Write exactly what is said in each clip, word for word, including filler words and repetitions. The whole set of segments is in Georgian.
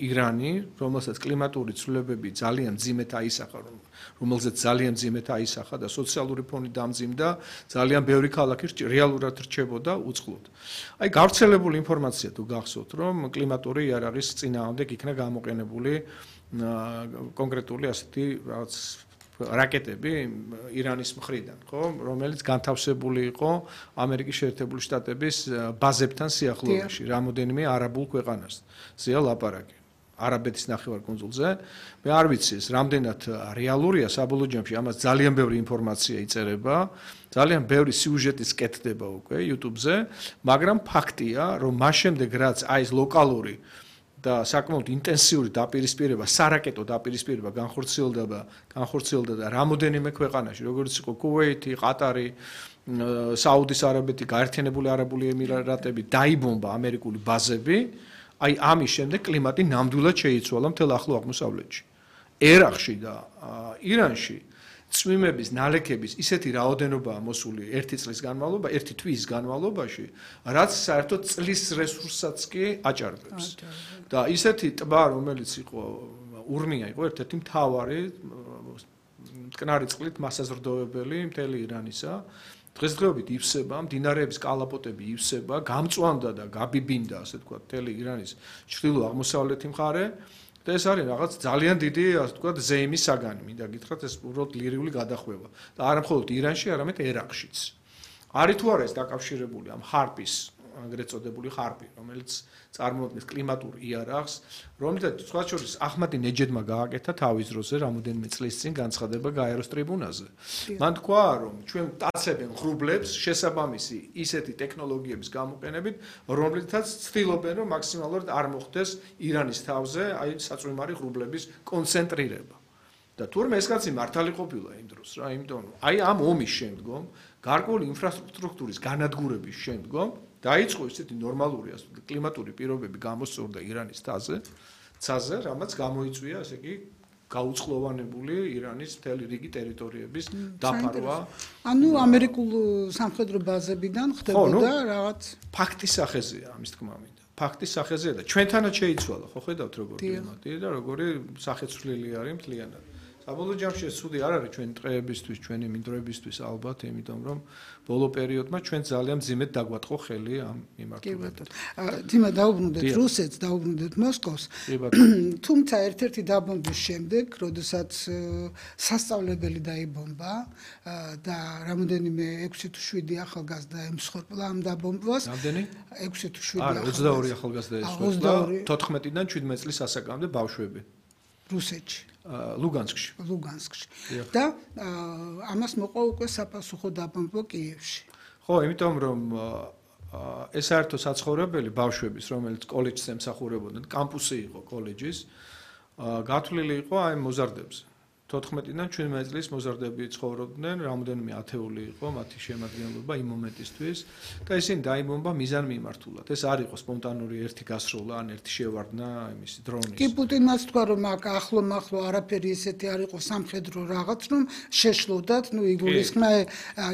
ირანი, რომელსაც კლიმატური ცვლილებები ძალიან მძიმედ აისახა, რომელზეც ძალიან მძიმედ აისახა და სოციალური ფონი დამძიმდა, ძალიან ბევრი ქალაქი რეალურად რჩებოდა უწყლოდ. აი გავრცელებული ინფორმაცია თუ გახსოვთ, რომ კლიმატური იარაღის წინააღმდეგ იქნა გამოყენებული კონკრეტული ასეთი რაღაც რაკეტები ირანის მხრიდან, ხო, რომელიც განთავსებული იყო ამერიკის შეერთებული შტატების ბაზებთან სიახლოვეში, რამოდენიმე არაბულ ქვეყანაზეა ლაპარაკი. არაბეთის ნახევარკუნძულზე. მე არ ვიცი ეს რამდენად რეალურია საბოლოო ჯამში, ამას ძალიან ბევრი ინფორმაცია იწერება, ძალიან ბევრი სიუჟეტი სკეთდება უკვე YouTube-ზე, მაგრამ ფაქტია, რომ მას შემდეგ რაც აი ეს ლოკალური და საკმაოდ ინტენსიური დაპირისპირება, სარაკეტო დაპირისპირება განხორციელდება, განხორციელდა და რამოდენიმე ქვეყანაში, როგორც იყო კუვეითი, ყატარი, საუდის არაბეთი, გაერთიანებული არაბული ემირატები, დაიბომბა ამერიკული ბაზები. აი ამის შემდეგ კლიმატი ნამდვილად შეიცვალა მთელ ახლო აღმოსავლეთში. ერაყში და ირანში წვიმების ნალექების ისეთი რაოდენობაა მოსული ერთი წლის განმავლობაში, ერთი თვის განმავლობაში, რაც საერთოდ წლის რესურსსაც კი აჭარბებს. და ისეთი ტბა, რომელიც იყო ურმია იყო ერთ-ერთი მთავარი მტკნარი წყლით მასაზრდოებელი მთელი ირანისა. დღესდღეობით ივსება, მდინარეების კალაპოტები ივსება, გამწვანდა და გაბიბინდა, ასე ვთქვათ, მთელი ირანის ჩრდილო-აღმოსავლეთი მხარე და ეს არის რაღაც ძალიან დიდი, ასე ვთქვათ, ზეიმის საგანი, მინდა გითხრათ, ეს უბრალოდ ლირიული გადახვევა და არა მხოლოდ ირანში, არამედ ერაყშიც. არის თუ არა ეს დაკავშირებული ამ ხარპის, აგრეთ წოდებული ხარპი, რომელიც წარმოადგენს კლიმატურ იარაღს, რომელსაც სხვა შორის აჰმადი ნეჯედმა გააკეთა თავის დროზე, რამოდენიმე წლის წინ განცხადება გაეროს ტრიბუნაზე. მან თქვა, რომ ჩვენ ვტაცებენ ღრუბლებს შესაბამისი ისეთი ტექნოლოგიების გამოყენებით, რომლითაც ცდილობენ, რომ მაქსიმალურად არ მოხდეს ირანის თავზე აი საწვიმარი ღრუბლების კონცენტრირება. და თურმე ეს კაცი მართალი ყოფილა იმ დროს რა, იმიტომ რომ აი ამ ომის შემდგომ, გარკვეული ინფრასტრუქტურის განადგურების შემდგომ დაიწყო ისეთი ნორმალური კლიმატური პირობები გამოსწორდა ირანის თაზე, ცაზე, რამაც გამოიწვია, ასე იგი, გაუწყლოვანებული ირანის მთელი რიგი ტერიტორიების დაფარვა. ანუ ამერიკულ სამხედრო ბაზებიდან ხდებოდა რაღაც ფაქტის სახეზეა ამის თქმა მინდა. ფაქტის სახეზეა და ჩვენთანაც შეიცვალა, ხო ხედავთ როგორ კლიმატი და როგორი სახეცვლილი არის მთლიანად. საბოლოო ჯამში ეს ცუდი არ არის ჩვენი ტყეებისთვის, ჩვენი მინდვრებისთვის ალბათ, იმიტომ რომ ბოლო პერიოდმა ჩვენ ძალიან მძიმედ დაგვატყო ხელი ამ მიმართულებად. თიმა დაუბრუნდეთ რუსეთს, დაუბრუნდეთ მოსკოვს. თუმცა ერთ-ერთი დაბომბვის შემდეგ, როდესაც სასწავლებელი დაიბომბა და რამოდენიმე ექვსი თუ შვიდი ახალგაზრდა ემსხვერპლა ამ დაბომბვას. რამდენი? ექვსი თუ შვიდი. არა, ოცდაორი ახალგაზრდა ემსხვერპლა, თოთხმეტიდან შვიდმეტ წლის ასაკამდე ბავშვები. რუსეთში. ლუგანსკში. ლუგანსკში. და ამას მოყვა უკვე საპასუხო დაბომბვა კიევში. ხო, იმიტომ რომ ეს საერთო საცხოვრებელი ბავშვების, რომელიც კოლეჯს ემსახურებოდნენ, კამპუსი იყო კოლეჯის, გათვლილი იყო აი მოზარდებზე. თოთხმეტიდან შვიდმეტ წლის მოზარდები ცხოვრობდნენ, რამოდენიმე ათეული იყო მათი შემადგენლობა იმ მომენტისთვის და ისინი დაიბომბა მიზან მიმართულად. ეს არ იყო სპონტანური ერთი გასროლა, ან ერთი შევარდნა იმის დრონის. კი პუტინმაც თქვა, რომ აქ ახლო-მახლო არაფერი ესეთი არ იყო სამხედრო რაღაც, რომ შეშლოდათ, ნუ იგულისხმნა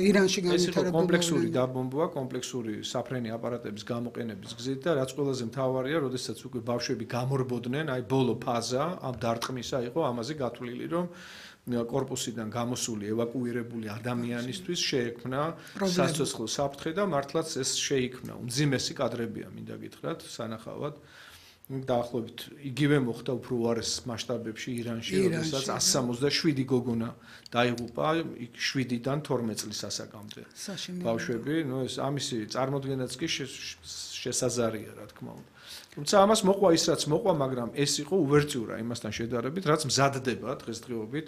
ირანში განვითარებული. ეს იყო კომპლექსური დაბომბვა, კომპლექსური საფრენი აპარატების გამოყენების გზით და რაც ყველაზე მთავარია, როდესაც უკვე ბავშვები გამორბოდნენ, აი ბოლო ფაზა ამ დარტყმისა იყო ამაზე გათვლილი, რომ კორპუსიდან გამოსული ევაკუირებული ადამიანისთვის შეექმნა სასიცოცხლო საფრთხე და მართლაც ეს შეიქმნა. უმძიმესი კადრებია, მინდა გითხრათ, სანახავად. დაახლოებით იგივე მოხდა უფრო უარეს მასშტაბებში ირანში, როდესაც εκατს სამოცდაშვიდი გოგონა დაიღუპა შვიდიდან თორმეტ წლის ასაკამდე. ბავშვები, ნუ ეს ამისი წარმოდგენაც კი შესაძარია, რა თქმა უნდა. თუმცა ამას მოყვა ის რაც მოყვა, მაგრამ ეს იყო უვერტიურა იმასთან შედარებით, რაც მზადდება დღესდღეობით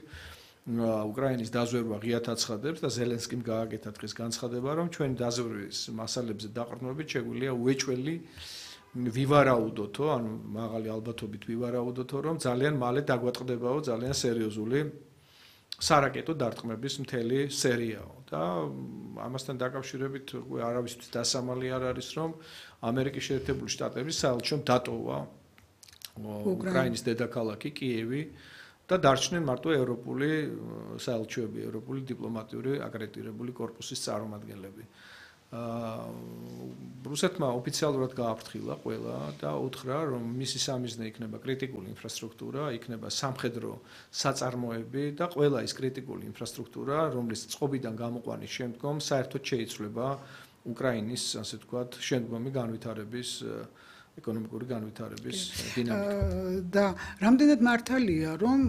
უკრაინის დაზვერვა ღიათ აცხადებს და ზელენსკიმ გააკეთა დღეს განცხადება, რომ ჩვენი დაზვერვის მასალებზე დაყრდნობით შეგვიძლია უეჭველი ვივარაუდოთო, ანუ მაღალი ალბათობით ვივარაუდოთო, რომ ძალიან მალე დაგვატყდებაო ძალიან სერიოზული სარაკეტო დარტყმების მთელი სერიაო და ამასთან დაკავშირებით არავისთვის დასამალი არ არის, რომ ამერიკის შეერთებული შტატების საელჩომ დატოვა უკრაინის დედაქალაქი კიევი და დარჩნენ მარტო ევროპული საელჩოები, ევროპული დიპლომატიური აკრედიტირებული კორპუსის წარმომადგენლები. რუსეთმა ოფიციალურად გააფრთხილა ყველა და უთხრა, რომ მისი სამიზნე იქნება კრიტიკული ინფრასტრუქტურა, იქნება სამხედრო საწარმოები და ყველა ის კრიტიკული ინფრასტრუქტურა, რომლის წყობიდან გამოყვანის შემდგომ საერთოდ შეიცვლება უკრაინის, ასე ვთქვათ, შემდგომი განვითარების ეკონომიკური განვითარების დინამიკა. და რამდენად მართალია, რომ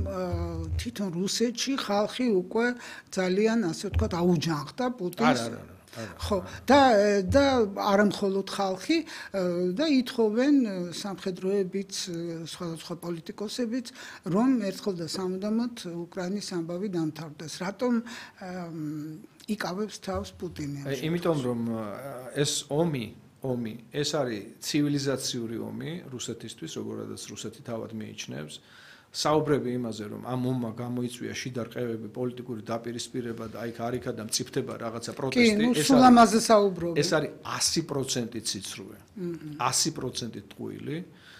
თვითონ რუსეთში ხალხი უკვე ძალიან, ასე ვთქვათ, აუჯანხდა პუტინს. არა, არა. ხო, და და არა მხოლოდ ხალხი და ითხოვენ სამხედროებიც, სხვადასხვა პოლიტიკოსებიც, რომ ერთხელ და სამუდამოდ უკრაინის ამბავი დამთავრდეს. რატომ იკავებს თავს პუტინი? იმიტომ რომ ეს ომი, ომი, ეს არის ცივილიზაციური ომი რუსეთისთვის, როგორადაც რუსეთი თავად მიიჩნევს. საუბრები იმაზე, რომ ამ ომმა გამოიწვია შიდა რყევები, პოლიტიკური დაპირისპირება და აი ქარიქა და მწიფდება რაღაცა პროტესტი, ეს არის ამაზე საუბრობ. ეს არის ასი პროცენტი ციცრუე. ასი პროცენტი ტყუილი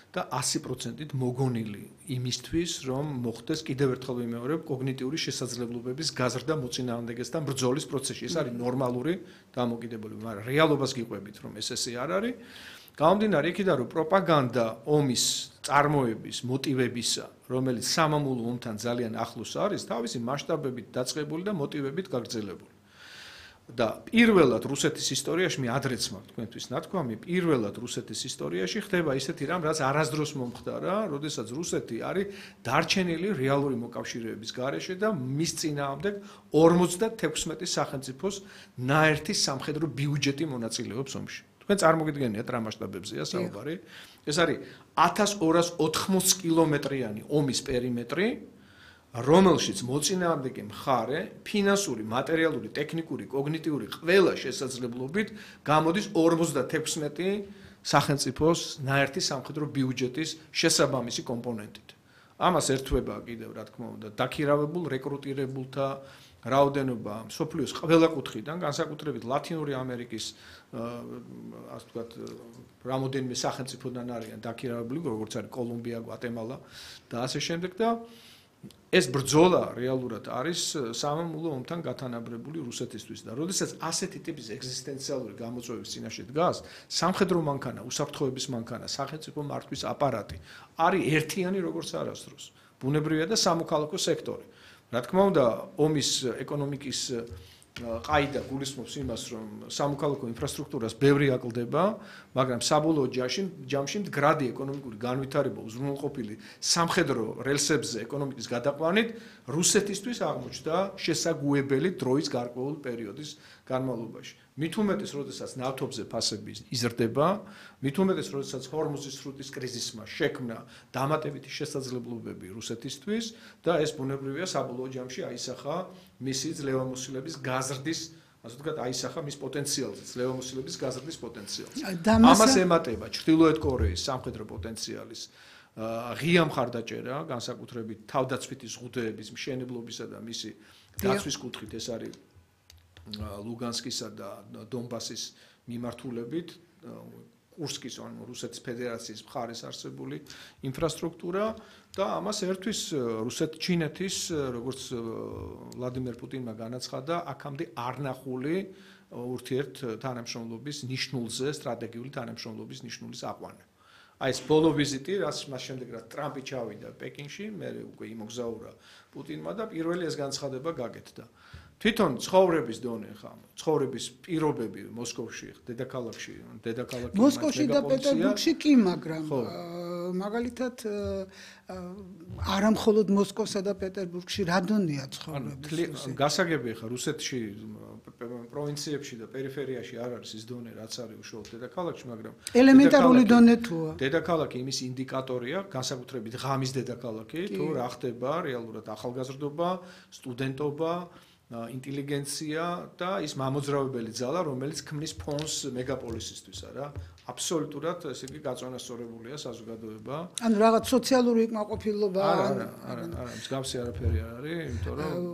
და ასი პროცენტი მოგონილი იმისთვის, რომ მოხდეს კიდევ ერთხელ ვიმეორებ კოგნიტიური შესაძლებლობების გაზრდა მოწინააღმდეგესთან ბრძოლის პროცესში. ეს არის ნორმალური დამოკიდებულება, მაგრამ რეალობას გიყვებით, რომ ეს ესე არ არის. გამომდინარე იქიდან, რომ პროპაგანდა ომის წარმოების მოტივებისა, რომელიც სამამულო ომთან ძალიან ახლოს არის, თავისი მასშტაბებით დაწყებული და მოტივებით გაგრძელებული. და პირველად რუსეთის ისტორიაში, მე ადრეც მაქვს თქვენთვის ნათქვამი, პირველად რუსეთის ისტორიაში ხდება ისეთი რამ, რაც არასდროს მომხდარა, როდესაც რუსეთი არის დარჩენილი რეალური მოკავშირეების გარეშე და მის წინააღმდეგ ორმოცდათექვსმეტი სახელმწიფოს ნაერთი სამხედრო ბიუჯეტი მონაწილეობს ომში. თქვენ წარმოგიდგენიათ რა მასშტაბებზეა საუბარი. ეს არის ათას ორას ოთხმოცი კილომეტრიანი ომის პერიმეტრი, რომელშიც მოწინააღმდეგე მხარე ფინანსური, მატერიალური, ტექნიკური, კოგნიტიური ყველა შესაძლებლობით გამოდის ორმოცდათექვსმეტი სახელმწიფოს ნაერთი სამხედრო ბიუჯეტის შესაბამისი კომპონენტით. ამას ერთვება კიდევ რა თქმა უნდა დაქირავებულ რეკრუტირებულთა რაოდენობა სოფლიოს ყველა კუთხიდან, განსაკუთრებით ლათინური ამერიკის ასე ვთქვათ, რამოდენიმე სახელმწიფოდან არიან დაქირავებული, როგორც არის კოლუმბია, გვატემალა და ასე შემდეგ და ეს ბრძოლა რეალურად არის სამამულო ომთან გათანაბრებული რუსეთისთვის და როდესაც ასეთი ტიპის ეგზისტენციალური გამოწვევის წინაშე დგას, სამხედრო მანქანა, უსაფრთხოების მანქანა, სახელმწიფო მართვის აპარატი არის ერთიანი როგორც არასდროს. ბუნებრივია და სამოქალაქო სექტორი. რა თქმა უნდა, ომის ეკონომიკის ყაიდა გულისხმობს იმას, რომ სამოქალაქო ინფრასტრუქტურას ბევრი აკლდება, მაგრამ საბოლოო ჯამში მდგრადი ეკონომიკური განვითარება უზრუნველყოფილი სამხედრო რელსებზე ეკონომიკის გადაყვანით რუსეთისთვის აღმოჩნდა შესაგუებელი დროის გარკვეული პერიოდის განმავლობაში. მით უმეტეს, როდესაც ნავთობზე ფასები იზრდება, მით უმეტეს, როდესაც ჰორმუზის სრუტის კრიზისმა შექმნა დამატებითი შესაძლებლობები რუსეთისთვის და ეს ბუნებრივია საბოლოო ჯამში აისახა მისი ძლევამოსილების გაზრდის, ასე ვთქვათ, აისახა მის პოტენციალზე, ძლევამოსილების გაზრდის პოტენციალს. ამას ემატება ჩრდილოეთ კორეის სამხედრო პოტენციალის ღია მხარდაჭერა, განსაკუთრებით თავდაცვითი ზღუდეების მშენებლობისა და მისი დაცვის კუთხით, ეს არის ლუგანსკისა და დონბასის მიმართულებით კურსკის ანუ რუსეთის ფედერაციის მხარეს არსებული ინფრასტრუქტურა და ამას ერთვის რუსეთ-ჩინეთის, როგორც ვლადიმერ პუტინმა განაცხადა, აქამდე არნახული ურთიერთ თანამშრომლობის ნიშნულზე, სტრატეგიული თანამშრომლობის ნიშნულის აყვანა. აი ეს ბოლო ვიზიტი, რაც მას შემდეგ რა ტრამპი ჩავიდა პეკინში, მე უკვე იმოგზაურა პუტინმა და პირველი ეს განცხადება გაკეთდა. თვითონ ცხოვრების დონე ხა, ცხოვრების პირობები მოსკოვში, დედაქალაქში, დედაქალაქი მოსკოვში და პეტერბურგში კი, მაგრამ მაგალითად არა მხოლოდ მოსკოვსა და პეტერბურგში რა დონეა ცხოვრების. გასაგებია ხა რუსეთში პროვინციებში და პერიფერიაში არ არის ის დონე, რაც არის უშუალოდ დედაქალაქში, მაგრამ ელემენტარული დონე თუა. დედაქალაქი იმის ინდიკატორია, განსაკუთრებით ღამის დედაქალაქი, თუ რა ხდება რეალურად ახალგაზრდობა, სტუდენტობა, ინტელიგენცია და ის მამოძრავებელი ძალა, რომელიც ქმნის ფონს მეგაპოლისისთვის, არა? აბსოლუტურად ესე იგი გაწონასწორებულია საზოგადოება. ანუ რაღაც სოციალური კმაყოფილება არა, არა, არა, არა, მსგავსი არაფერი არ არის, იმიტომ რომ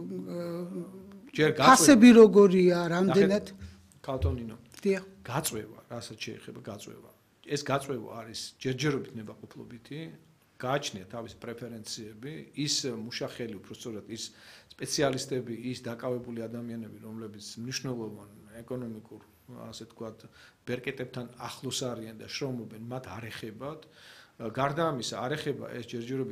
ჯერ გაწვევა. ფასები როგორია, რამდენად? კალტონინო. დიახ. გაწვევა, რასაც შეეხება გაწვევა. ეს გაწვევა არის ჯერჯერობით ნებაყოფლობითი. გააჩნია თავისი პრეფერენციები, ის მუშახელი, უბრალოდ ის სპეციალისტები, ის დაკავებული ადამიანები, რომლებიც მნიშვნელოვან ეკონომიკურ ასე ვთქვათ, ბერკეტებთან ახლოს არიან და შრომობენ, მათ არ ეხებათ. გარდა ამისა, არ ეხება ეს ჯერჯერობით